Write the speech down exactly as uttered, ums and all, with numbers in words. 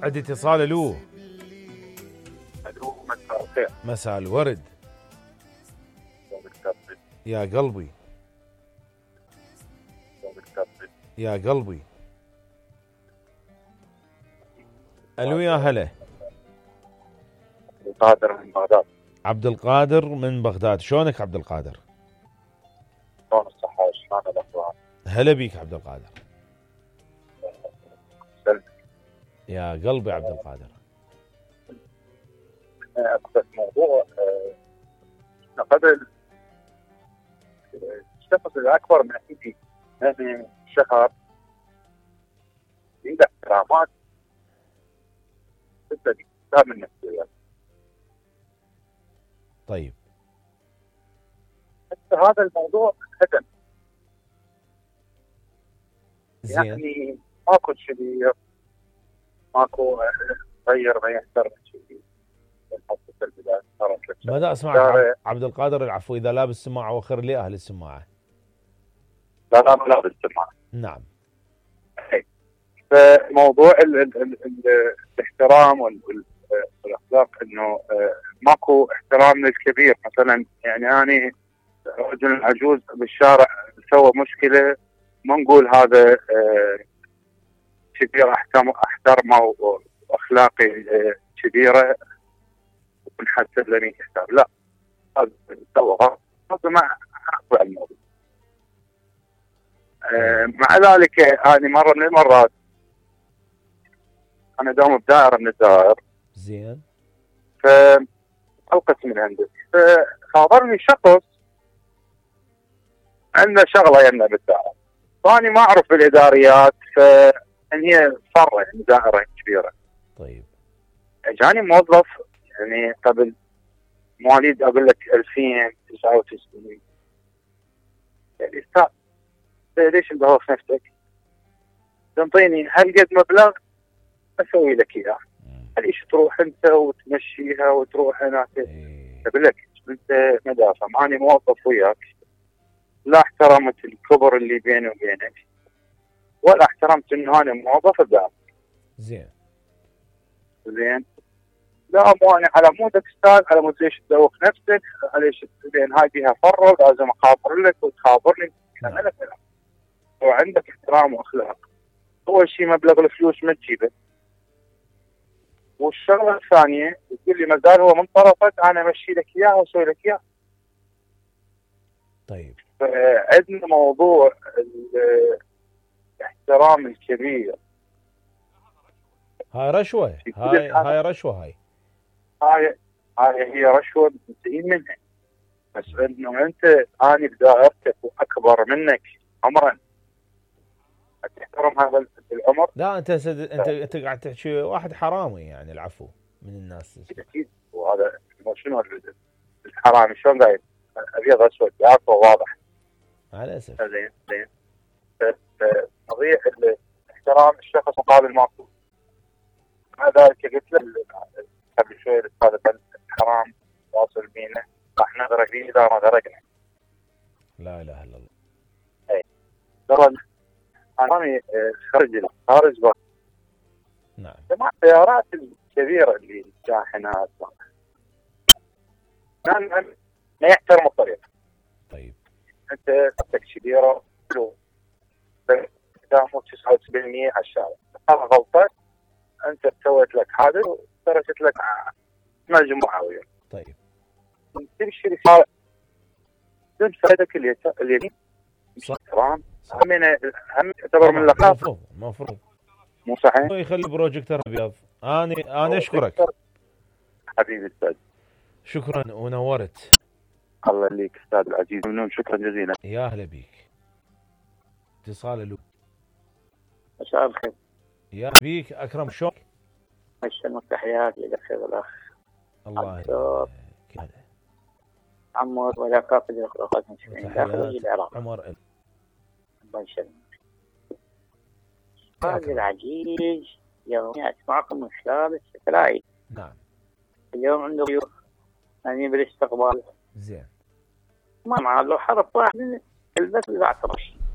عندي اتصال. الو. الو مساء الخير. مساء الورد. يا قلبي يا قلبي. الو يا هلا. عبد القادر من بغداد. عبد القادر من بغداد، شلونك عبد القادر؟ شلون الصحة؟ شلون الأخبار؟ هلا بيك عبد القادر. سلمك. يا قلبي عبد القادر. أقصد موضوع أه قبل الشخص الأكبر من عندي أنا شهر عنده احترامات جدا من النفسيات. طيب حتى هذا الموضوع هدم. زين. يعني ماكو شبير، ماكو غير ما يحترم شيء. بدأ اسمعك عبد القادر العفو. اذا لابس سماعه وخر لي اهل السماعه. لا لا لا بالسماعه. نعم. فموضوع ال ال ال ال الاحترام والاخلاق انه ماكو احترام للكبير. مثلا يعني انا رجل عجوز بالشارع سوى مشكله، ما نقول هذا كبير احترمه واخلاقي كبيره ونحسب له حساب. لا، هذا سوى هذا ما اقبل الموضوع. أه مع ذلك هذه مره من المرات انا داوم بدائره من الدوائر. زين. فالقت من عندك، فخابرني شخص عنده شغله يمنا بالدائره، فاني ما اعرف بالاداريات، فان هي فره يعني دائره كبيره. طيب. اجاني موظف يعني قبل مواليد اقول لك ألفين وتسعة وتسعين. يعني استاذ ليش مدوخ نفسك؟ تنطيني هالقد مبلغ اسوي لك اياه. ليش تروح انت وتمشيها وتروح هناك؟ اقول لك انت مدافع، ماني موظف وياك، لا احترمت الكبر اللي بيني وبينك ولا احترمت انه انا موظف ادافع. زين. زين. لا مو انا على مودك استاذ، على مود ليش تدوخ نفسك؟ ليش لان هاي فيها فره لازم اخابر لك وتخابرني. نعم. انا كلام وعندك احترام واخلاق. اول شيء مبلغ الفلوس ما تجيبه، والشغله الثانيه تقول لي ما زال هو من طرفك انا امشي لك اياه واسوي لك اياه. طيب. عندنا موضوع الاحترام الكبير. هاي رشوه، هاي هاي رشوه. هاي هاي هاي هي رشوه مستحيل منها. بس انه انت اني بدائرتك واكبر منك عمرا تحترم هذا العمر. لا انت سد... انت انت قاعد تحكي واحد حرامي يعني العفو من الناس. اكيد. وهذا شنو الحرامي شلون قايل ابيض اسود عارفه واضح. على اسف. زين زين. قضيه احترام الشخص مقابل ماكو. مع ذلك قلت له قبل شوي الاستاذ الحرام واصل بينا راح نغرق فيه اذا ما غرقنا. لا اله الا الله. اي ترى انا خارج خارج بقى. نعم. جماعة السيارات الكبيره اللي الشاحنات ما يحترموا الطريق. طيب. انت خطك كبيره قدامه تسعة وسبعين بالمئة على الشارع، هذا غلطه. انت سويت لك حادث وتركت لك مجموعه وياه. طيب. تمشي رساله تنسى يدك اليمين. صح. تمام. هم هم تعتبر من اللقاء. المفروض المفروض مو صحيح؟ يخلي بروجيكتور ابيض. انا انا اشكرك حبيبي استاذ. شكرا ونورت. الله يخليك استاذ العزيز، ممنون شكرا جزيلا. يا اهلا بيك. اتصال له. مساء الخير. يا بيك اكرم شلونك؟ السلام تحياتي لك الاخ. الله يسلمك. عمر ولا كافة الاخوات المسلمين داخل العراق. عمر الله يسلمك. هذا العزيز يومي اسمعكم من خلال الستلايت. نعم. اليوم عنده ضيوف يعني بالاستقبال. زين. ما معه لو حرف واحد البس بالعطرش.